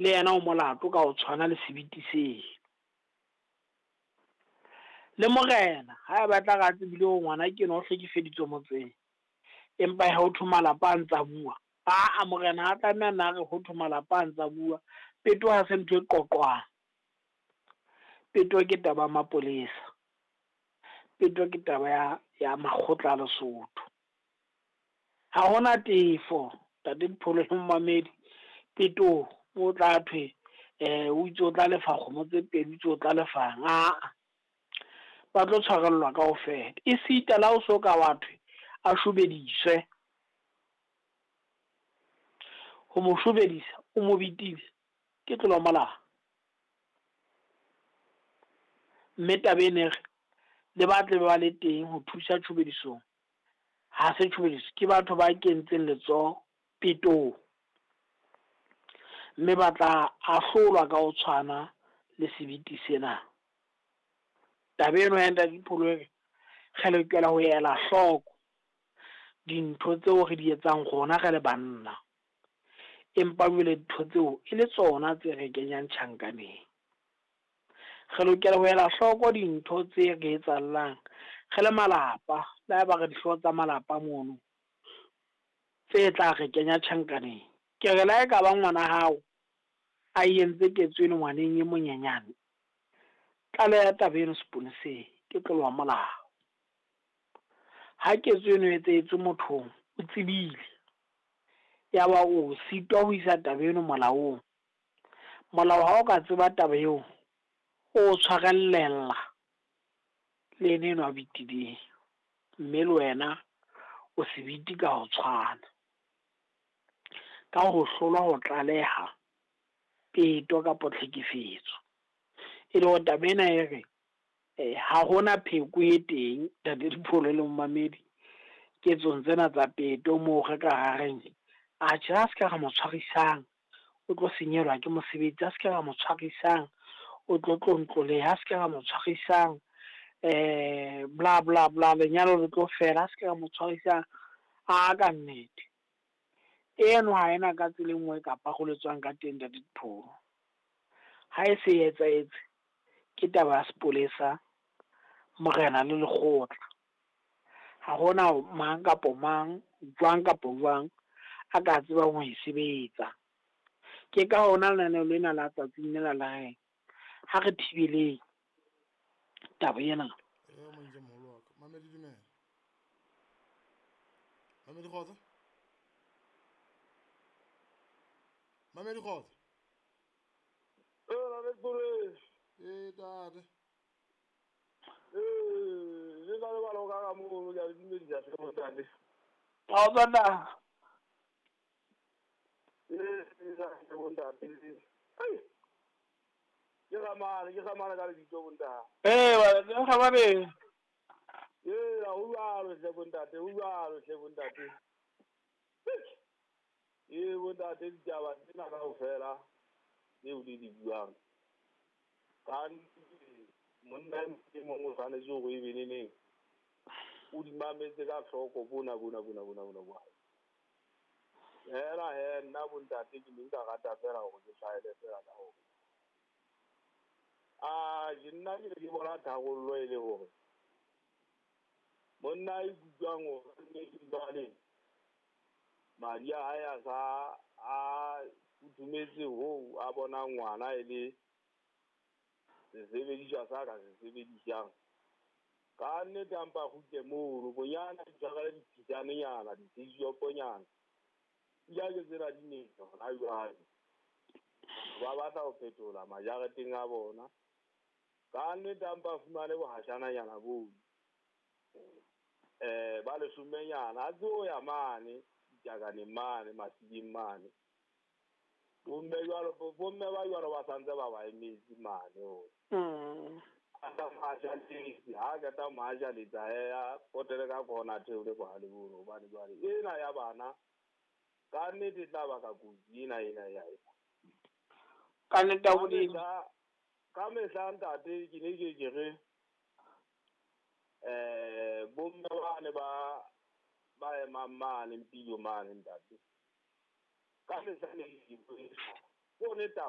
Le yena o molato ka ho tshwana le sebiti seo. Le morena ha e batla re a tsebile hore ngwana ke ena o hlekefeditswe motseng, empa ho thwe malapa a ntsa bua. Aa morena ha tlameha nna re ho thwe malapa a ntsa bua. Peto ha se ntho e qoqwang. Peto ke taba ya mapolesa. Peto ke taba ya makgotla a Lesotho. Ha hona tefo ntate Dipholo le momamedi petong o tla thwe o itse o tla lefa kgomo tse pedi, o itse o tla lefang. Aa ba tlo tshwarellwa kaofela. E sita le ha o so ka wa thwe a shobediswe. Ho mo shobedisa o mo bitile ke tlolo ya molao. Mme taba ena e re le ba tle ba le teng ho thusa tshobedisong. Ha se tshobediso, ke batho ba kentseng letsoho petong. Mme ba tla ahlolwa ka ho tshwana le sebiti sena. Taba eno ya ntate Dipholo e re re lokela ho ela hloko dintho tseo re di etsang rona re le banna. Empa jwale ntho tseo e le tsona tse re kenyang tjhankaneng. Re lokela ho ela hloko dintho tse re etsahallang re le malapa, le haeba re dihlooho tsa malapa mono, tse tla re kenya tjhankaneng. Ke re le ha e ka ba ngwana hao a entse ketso eno ngwaneng e monyenyane, tlaleha taba eno seponeseng, ke tlolo ya molao. Ha ketso eno e etsahetse mothong, o tsebile, ya ba o sitwa ho isa taba eno molaong. Molao ha o ka tseba taba eo, o tshwarellela le ena enwa a betileng. Mme le wena o sebiti ka ho tshwana. Ka ho hlolwa ho tlaleha peto kapa tlhekefetso. E le hore taba ena e re ha hona pheko e teng ntate Dipholo le momamedi ketsong tsena tsa peto moo re ka ra reng atjhe ha se ka ra mo tshwarisang o tlo senyelwa ke mosebetsi, ha se ka ra mo tshwarisang o tlo tlontloleha, ha se ka ra mo tshwarisang bla bla bla lenyalo le tlo fela, ha se ka ra mo tshwarisang. A ka nnete eno ha ena ka tsela e nngwe kapa roletswang ka teng ntate Dipholo. Ha e se e etsahetse ke taba ya sepolesa, morena le lekgotla. Ha hona mang kapo mang, jwang kapo jwang a ka tsebang ho e sebetsa. Ke ka hona lenaneo lena la tsatsing lena la reng ha re thibeleng taba ena. E monje moholo wa ka. Mamedi dumela. Mamedi kgotso. Mamedi kgotso. Ee, E tate. Ee, le na le bana o ka ka mono, ke a le dumedisa hle bontate. Kgotso ntate. Ee, hle bontate. Ai, ke gamane ka lebitso bontate. Ee, ba gamane. Ee, ho jwalo hle bontate, ho jwalo hle bontate. Ee, bontate, ditaba tsena kaofela tseo le di buang. Ka monna e mong o tshwanetse hore e be neneng o di mametse ka hloko bona bona bona bona bona bona. Hela he nna bontate ke ne nka rata fela hore ke tshwaele fela ka hore a je nna ke ne ke bona tharollo e le hore monna a ikutlwang hore nnete jwale madi a hae a sa a futhumetse hoo a bonang ngwana e le sesebediswa sa ka se sebedisang. Ka nnete a mpa kgutle mono bonyane a itshwarele dipitsanenyana, ditshoponyana. Pula ke tsena di nele hona jwale. Ba batla ho phetola majareteng a bona. Ka nnete a mpa fumane bohashananyana bono. Ba leshomenyana a tseo ya mane ditakaneng mane masileng mane. Bomme jwalo, bomme ba jwalo ba santse ba ba emetse mane ho. A sa majaletse, ha qeta majaletsa he a potele ka khona theole bohale bono hobane jwale ena ya bana ka nnete e tla baka kotsi ena ena ya ena. Ka nnete ya Modimo. Ka mehla ntate ke ne ke ke re bomme bane ba ba emang mane Mpilo mane ntate. Ka mehla ne ke ke Ke yone taba.